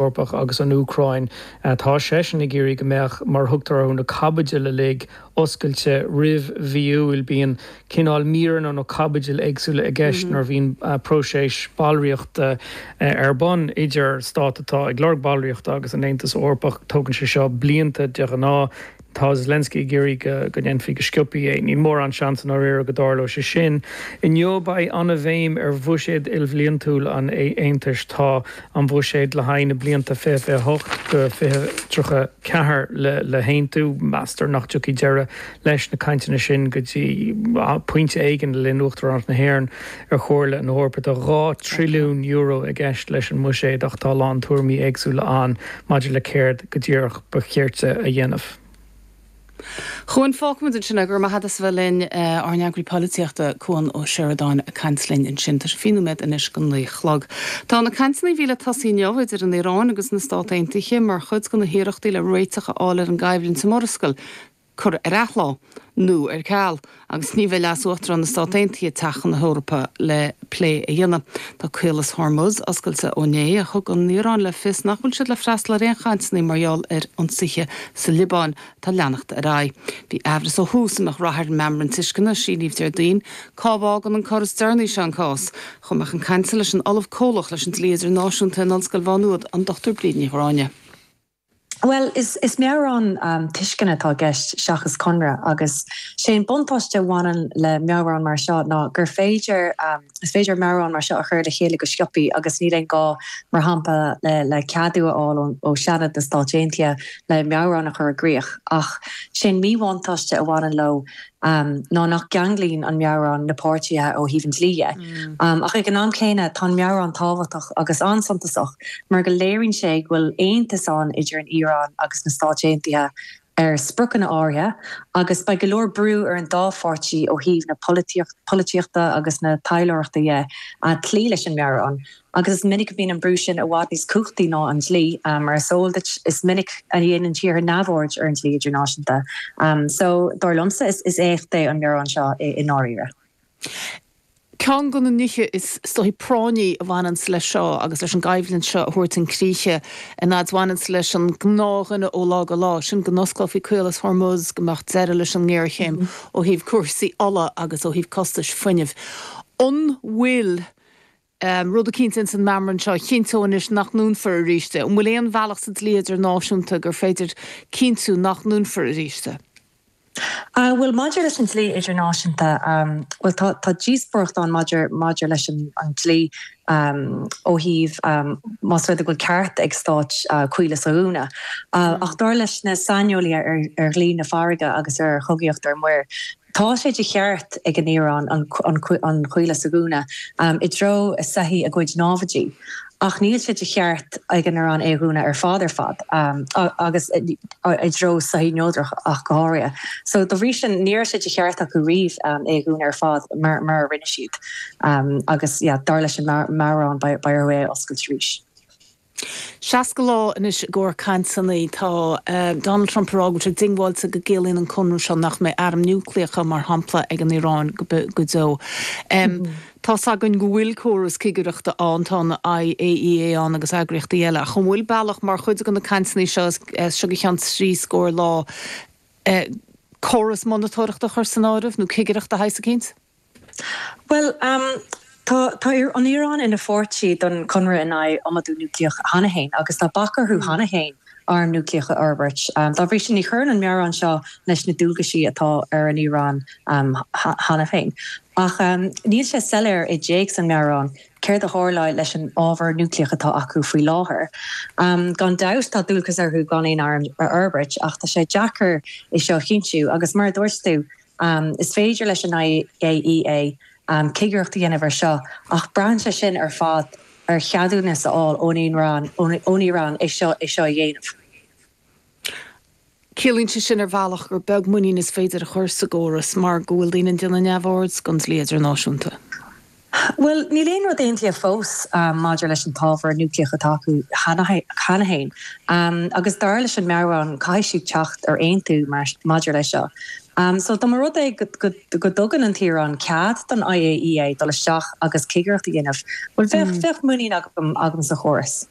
Eorpach agus an Úcráin. Tá seisean ag iarraidh go mbeadh, mar a thugtar orthu, na caibidil uilig oscailte roimh mhí Iúil. Bíonn cineál míreanna nó caibidil éagsúla i gceist nuair a bhíonn próiseas ballraíochta ar bun idir stát atá ag lorg ballraíochta agus an Aontas Eorpach. Tógann sé seo blianta de ghnáth. Tá Zelensky ag iarraidh go ndéanfaí go sciobtha é. Níl mórán seans i ndáiríre go dtarlóidh sé sin. Inniu beidh an-bhéim ar bhuiséad ilbhliantúil an Aontais. Tá an buiséad le haghaidh na blianta 2028 go 2034 le haontú. Meastar nach dtiocfaidh deireadh leis na cainteanna sin go dtí pointe éigin le linn Uachtaránacht na hÉireann ar Chomhairle na hEorpa. Tá €2 trilliún i gceist leis an mbuiséad ach tá a lán tuairimí éagsúla ann maidir le céard go díreach ba chirte a dhéanamh. Cuan, fágfaimid ansin é. Go raibh maith agat as a bheith linn. Ár n-eagraí polaitíochta, Cuan Ó Seireadáin ag caint linn ansin. Tá sé 20 nóiméad anois go naoi a chlog. Tá na cainteanna a bhí le tosaí inniu idir an Iaráin agus na Stát Aontaithe mar chuid de na hiarrachtaí le réiteach a fháil ar an gcoimhlint sa Mhurascaill curtha ar athlá, nó ar ceal, agus ní bheidh Leas-Uachtarán na Stát Aontaithe ag teacht chun na hEorpa le plé a dhéanamh. Tá Caolas Hormuz oscailte ó inné ach thug an Iaráin le fios nach bhfuil siad le freastal ar aon chainteanna mar gheall ar ionsaithe sa Liobáin atá ag leanacht ar aghaidh. Bhí aimhreas ó thús an mbeadh rath ar an meamram tuisceana a síníodh Déardaoin. Cá bhfágann an cor is deireanaí seo an cás? Chuaigh mé chun cainte leis an Ollamh Comhlach leis an Dlí Idirnáisiúnta in Ollscoil Mhá Nuad, an Dr Bríd Ní Ghráinne. Bhuel, is meabhrán tuisceana atá i gceist seachas conradh agus sé an buntáiste a bhaineann le meabhrán mar seo ná gur féidir, is féidir meabhrán mar seo a chur le chéile go sciobthaí agus níl aon gá, mar shampla, le ceadú a fháil ó Sheanad na Stáit Aontaithe le meabhrán a chur i gcrích. Ach sé an míbhuntáiste a bhaineann leo ná nach gceanglaíonn an meabhrán na páirtithe ó thaobh an dlí dhe. Ach ag an am céanna, tá an meabhrán tábhachtach agus an-suntasach mar go léiríonn sé go bhfuil aontas ann idir an Iaráin agus na Stáit Aontaithe ar spriocanna áirithe agus beidh go leor brú ar an dá pháirtí ó thaobh na polaitíochta agus na taidhleoireachta dhe cloí leis an meabhrán. Agus is minic a bhíonn an brú sin i bhfad níos cumhachtaí ná an dlí. Mar is eol duit, is minic a dhéanann tíortha neamhaird ar an dlí idirnáisiúnta. So, dar liomsa, is éacht é an meabhrán seo i ndáiríre. Ceann de na nithe is dóichí práinní a bhaineanns leis seo agus leis an gcoimhlint seo a thabhairt chun críche, an fhaid bhaineanns leis an ngnáthdhuine ó lá go lá, sin go n-osclófaí Caolas Hormuz, go mbeadh deireadh leis an ngéarchéim ó thaobh cúrsaí ola agus ó thaobh costais fuinnimh. An bhfuil rud eicínt ins an meamram seo a chinnteodh anois nach ndúnfar arís é. An bhfuil aon bhealach sa dlí idirnáisiúnta gur féidir cinntiú nach ndúnfar arís é? Bhuel, maidir leis an dlí idirnáisiúnta, bhuel, tá, tá díospóireacht ann maidir, maidir leis an, an dlí ó thaobh más rud é go bhfuil ceart ag stáit caolas a dhúnadh. Ach dar leis na saineolaithe ar, ar dhlí na farraige agus ar chogaíocht ar muir, Tá sé de cheart ag an Iaráin an caolas a dhúnadh i dtreo soithí a gcuid námhaidí, ach níl sé de cheart ag an Iaráin é a dhúnadh ar fad ar fad, agus i dtreo soithí neodrach ach go háirithe. So, dá bhrí sin, ní raibh sé de cheart acu riamh é a dhúnadh ar fad mar a rinne siad. Agus, yeah, dar leis an meabhrán, beidh orthu é a oscailt arís. 60 lá anois i gcomhair cainteanna. Tá Donald Trump ag rá go bhfuil sé diongbháilte go gciallaíonn an conradh seo nach mbeidh airm núicléacha, mar shampla, ag an Iaráin go deo. Tá's againn go bhfuil córas cigireachta ann, tá an IAEA ann agus eagraíochtaí eile, ach an bhfuil bealach mar chuid de na cainteanna seo as seo go ceann trí scór lá, córas monatóireachta a chur san áireamh nó cigireacht de shaghas eicínt? Bhuel, tá tá an Iaráin ina pháirtí don Chonradh in aghaidh Iomadú Núicléach cheana féin agus tá bac orthu cheana féin arm núicléach a fhorbairt. Dá bhrí sin, ní chuireann an meabhrán seo leis na dualgaisí atá ar an Iaráin cheana féin. Ach níl sé soiléir i dtéacs an mheabhráin céard a tharlóidh leis an ábhar núicléach atá acu faoi láthair. Gan dabht, tá dualgas orthu gan aon arm a fhorbairt, ach tá sé deacair é seo a chinntiú agus mar a dúirt tú, Is féidir leis an IAEA cigireacht a dhéanamh ar seo ach braitheann sé sin ar fad ar cheadúnas a fháil ón Iaráin é seo é seo a dhéanamh. Ciallaíonn sé sin ar bhealach gur beag muinín is féidir a chur sa gcóras mar go bhfuil daoine ag déanamh neamhaird den dlí idirnáisiúnta. Bhuel, níl aon rud aontaithe fós maidir leis an t-ábhar núicléach atá acu cheana féin, agus dar leis an meabhrán, caithfidh siad teacht ar aontú maidir leis seo. So, dá mba rud é go dtugann an tIaráin cead don IAEA dul isteach agus cigireacht a dhéanamh, bhuel, bheadh muinín agam sa chóras.